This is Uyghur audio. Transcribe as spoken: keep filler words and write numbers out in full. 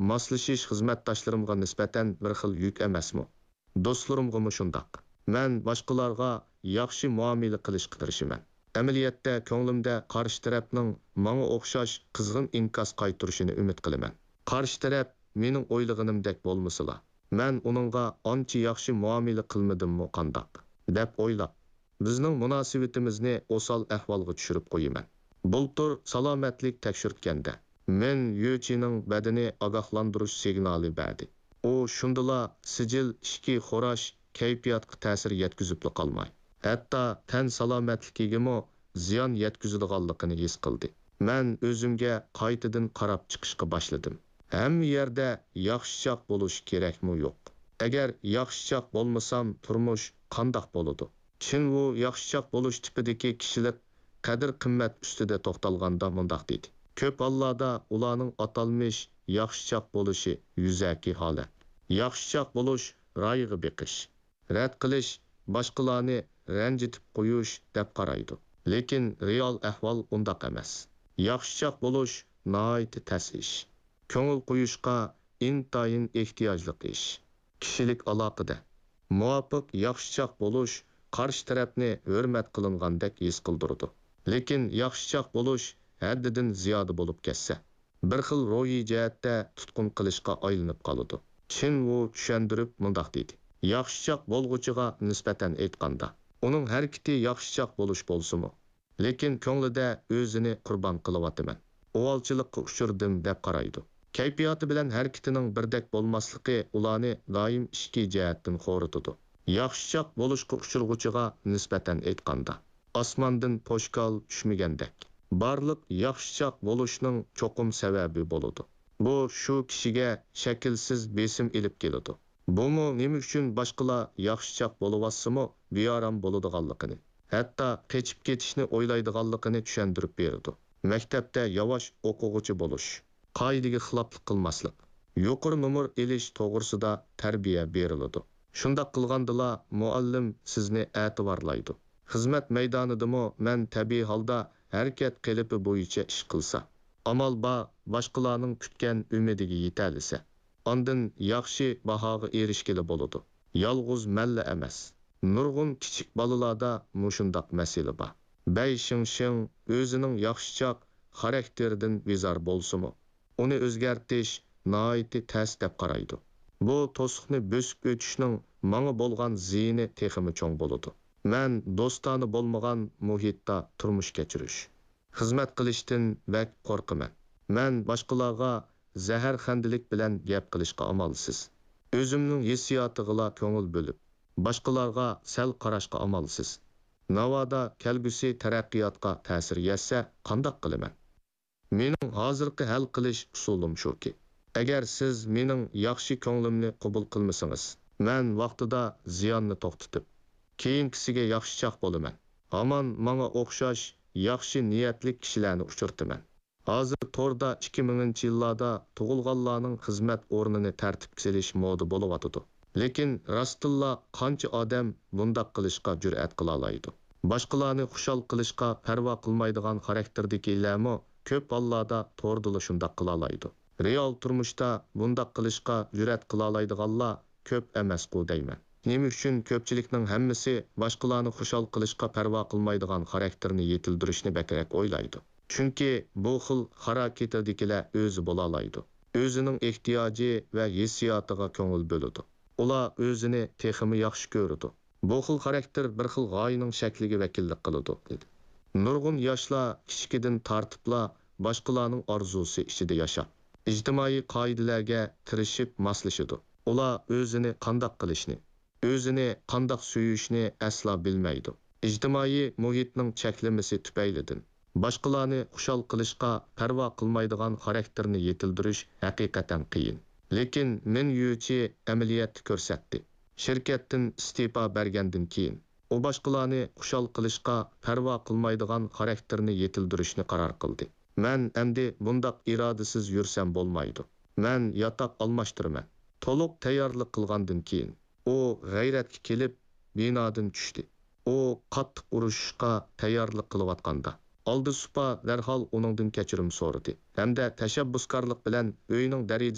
ماسلىشىش خىزمەتداشلىرىمغا نىسبەتەن بىر خىل يۈك ئەمەسمۇ؟ دوستلىرىمغىمۇ شۇنداق. مەن باشقىلارغا ياخشى مۇئامىلە قىلىشقا تىرىشىمەن. ئەمەلىيەتتە، كۆڭلۈمدە قارشى تەرەپنىڭ ماڭا ئوخشاش قىزغىن ئىنكاس قايتۇرۇشىنى ئۈمىد قىلىمەن. قارشى تەرەپ مېنىڭ ئويلىغىنىمدەك بولمىسىلا، مەن ئۇنىڭغا ئانچە ياخشى مۇئامىلە قىلمىدىممۇ قانداق، دەپ ئويلاپ، بىزنىڭ مۇناسىۋىتىمىزنى ئوسال ئەھۋالغا چۈشۈرۈپ قويىمەن. بۇلتۇر سالامەتلىك تەكشۈرتكەندە، مېن يۈچىنىڭ بەدىنى ئاگاھلاندۇرۇش سىگنالى بەردى. ئۇ شۇندىلا سىجىل ئىچكى خوراش كەيپىياتقا تەسىر يەتكۈزۈپلا قالماي، ھەتتا تەن سالامەتلىكىگىمۇ زىيان يەتكۈزىدىغانلىقىنى ھېس قىلدى. مەن ئۆزۈمگە قايتىدىن قاراپ چىقىشقا باشلىدىم. ھەممە يەردە ياخشىچاق بولۇش كېرەكمۇ يوق؟ ئەگەر ياخشىچاق بولمىسام، تۇرمۇش قانداق بولىدۇ؟ چىن ۋۇ ياخشىچاق بولۇش تىپىدىكى كىشىلىك قەدىر-قىممەت ئۈستىدە توختالغاندا مۇنداق دېدى: كۆپ ھاللاردا ئۇلارنىڭ ئاتالمىش ياخشىچاق بولۇشى يۈزەكى ھالەت. ياخشىچاق بولۇش رايىغا بېقىش، رەت قىلىش، باشقىلارنى رەنجىتىپ قويۇش دەپ قارايدۇ. لېكىن رېئال ئەھۋال ئۇنداق ئەمەس. ياخشىچاق بولۇش ناھايىتى تەس ئىش. كۆڭۈل قويۇشقا ئىنتايىن ئېھتىياجلىق ئىش. كىشىلىك ئالاقىدە مۇۋاپىق ياخشىچاق بولۇش قارشى تەرەپنى ھۆرمەت قىلىنغاندەك ھېس قىلدۇرىدۇ. لېكىن ياخشىچاق بولۇش ھەددىدىن زىيادە بولۇپ كەتسە، بىر خىل روھىي جەھەتتە تۇتقۇن قىلىشقا ئايلىنىپ قالىدۇ. چىن ۋۇ چۈشەندۈرۈپ مۇنداق دېدى: ياخشىچاق بولغۇچىغا نىسبەتەن ئېيتقاندا، ئۇنىڭ ھەرىكىتى ياخشىچاق بولۇش بولسىمۇ، لېكىن كۆڭلىدە ئۆزىنى قۇربان قىلىۋاتىمەن، ئۇۋالچىلىققا ئۇچرىدىم دەپ قارايدۇ. كەيپىياتى بىلەن ھەرىكىتىنىڭ بىردەك بولماسلىقى ئۇلارنى دائىم ئىچكى جەھەتتىن خورىتىدۇ. ياخشىچاق بولۇشقا ئۇچرىغۇچىغا نىسبەتەن ئېيتقاندا، ئاسماندىن پوشكال چۈشمىگەندەك، بارلىق ياخشىچاق بولۇشنىڭ چوقۇم سەۋەبى بولىدۇ. بۇ شۇ كىشىگە شەكىلسىز بېسىم ئېلىپ كېلىدۇ. بۇمۇ نېمە ئۈچۈن باشقىلار ياخشىچاق بولۇۋاتسىمۇ بىئارام بولىدىغانلىقىنى، ھەتتا قېچىپ كېتىشنى ئويلايدىغانلىقىنى چۈشەندۈرۈپ بېرىدۇ. مەكتەپتە ياۋاش ئوقۇغۇچى بولۇش، قائىدىگە خىلاپلىق قىلماسلىق، يۇقىرى نومۇر ئېلىش توغرىسىدا تەربىيە بېرىلىدۇ. شۇنداق قىلغاندىلا مۇئەللىم سىزنى ئەتىۋارلايدۇ. خىزمەت مەيدانىدىمۇ مەن تەبىئىي ھالدا ھەرىكەت قېلىپى بويىچە ئىش قىلسا، ئامال بار باشقىلارنىڭ كۈتكەن ئۈمىدىگە يېتەلىسە، ئاندىن ياخشى باھاغا ئېرىشكىلى بولىدۇ. يالغۇز مەنلا ئەمەس، نۇرغۇن كىچىك بالىلاردا مۇشۇنداق مەسىلە بار. بەي شىڭشىڭ ئۆزىنىڭ ياخشىچاق خاراكتېرىدىن بىزار بولسىمۇ، ئۇنى ئۆزگەرتىش ناھايىتى تەس دەپ قارايدۇ. بۇ توسۇقنى بۆسۈپ ئۆتۈشنىڭ ماڭا بولغان زىيىنى تېخىمۇ چوڭ بولىدۇ. مەن دوستانە بولمىغان مۇھىتتا تۇرمۇش كەچۈرۈش، خىزمەت قىلىشتىن بەك قورقىمەن. مەن باشقىلارغا زەھەرخەندىلىك بىلەن گەپ قىلىشقا ئامالسىز. ئۆزۈمنىڭ ھېسسىياتىغىلا كۆڭۈل بۆلۈپ، باشقىلارغا سەل قاراشقا ئامالسىز. ناۋادا كەلگۈسى تەرەققىياتقا تەسىر يەتسە قانداق قىلىمەن؟ مېنىڭ ھازىرقى ھەل قىلىش ئۇسۇلۇم شۇكى، ئەگەر سىز مېنىڭ ياخشى كۆڭلۈمنى قوبۇل قىلمىسىڭىز، مەن ۋاقتىدا زىياننى توختىتىپ، كېيىنكىسىگە ياخشىچاق بولىمەن. ھامان ماڭا ئوخشاش ياخشى نىيەتلىك كىشىلەرنى ئۇچرىتىمەن. ھازىر توردا ئىككى مىڭىنچى يىللاردا تۇغۇلغانلارنىڭ خىزمەت ئورنىنى تەرتىپكە سېلىش مودا بولۇۋاتىدۇ. لېكىن راستتىنلا قانچە ئادەم بۇنداق قىلىشقا جۈرئەت قىلالايدۇ؟ باشقىلارنى خۇشال قىلىشقا پەرۋا قىلمايدىغان خاراكتېردىكىلەرمۇ كۆپ ھاللاردا توردىلا شۇنداق قىلالايدۇ. رېئال تۇرمۇشتا بۇنداق قىلىشقا جۈرئەت قىلالايدىغانلار كۆپ ئەمەسقۇ دەيمەن. نېمە ئۈچۈن كۆپچىلىكنىڭ ھەممىسى باشقىلارنى خۇشال قىلىشقا پەرۋا قىلمايدىغان خاراكتېرنى يېتىلدۈرۈشنى بەكرەك ئويلايدۇ؟ چۈنكى بۇ خىل خاراكتېردىكىلەر ئۆزى بولالايدۇ. ئۆزىنىڭ ئېھتىياجى ۋە ھېسسىياتىغا كۆڭۈل بۆلىدۇ. ئۇلار ئۆزىنى تېخىمۇ ياخشى كۆرىدۇ. بۇ خىل خاراكتېر بىر خىل غايىنىڭ شەكلىگە ۋەكىللىك قىلىدۇ. نۇرغۇن ياشلار كىچىكىدىن تارتىپلا باشقىلارنىڭ ئارزۇسى ئىچىدە ياشاپ، ئىجتىمائىي قائىدىلەرگە تىرىشىپ ماسلىشىدۇ. ئۇلار ئۆزىنى قانداق قىلىشنى، ئۆزىنى قانداق سۆيۈشنى ئەسلا بىلمەيدۇ. ئىجتىمائىي مۇھىتنىڭ چەكلىمىسى تۈپەيلىدىن، باشقىلارنى خۇشال قىلىشقا پەرۋا قىلمايدىغان خاراكتېرنى يېتىلدۈرۈش ھەقىقەتەن قىيىن. لېكىن مىن يۈچى ئەمەلىيەتتە كۆرسەتتى. شىركەتتىن ئىستېپا بەرگەندىن كېيىن، ئۇ باشقىلارنى خۇشال قىلىشقا پەرۋا قىلمايدىغان خاراكتېرنى يېتىلدۈرۈشنى قارار قىلدى. مەن ئەمدى بۇنداق ئىرادىسىز يۈرسەم بولمايدۇ. مەن ياتاق ئالماشتۇرىمەن. تولۇق تەييارلىق قىلغاندىن كېيىن، ئۇ غەيرەتكە كېلىپ، بىنادىن چۈشتى. ئۇ قاتتىق ئۇرۇشۇشقا تەييارلىق قىلىۋاتقاندا، ئالدى سۇپا دەرھال ئۇنىڭدىن كەچۈرۈم سورىدى ھەمدە تەشەببۇسكارلىق بىلەن ئۆينىڭ دېرىزىسىنى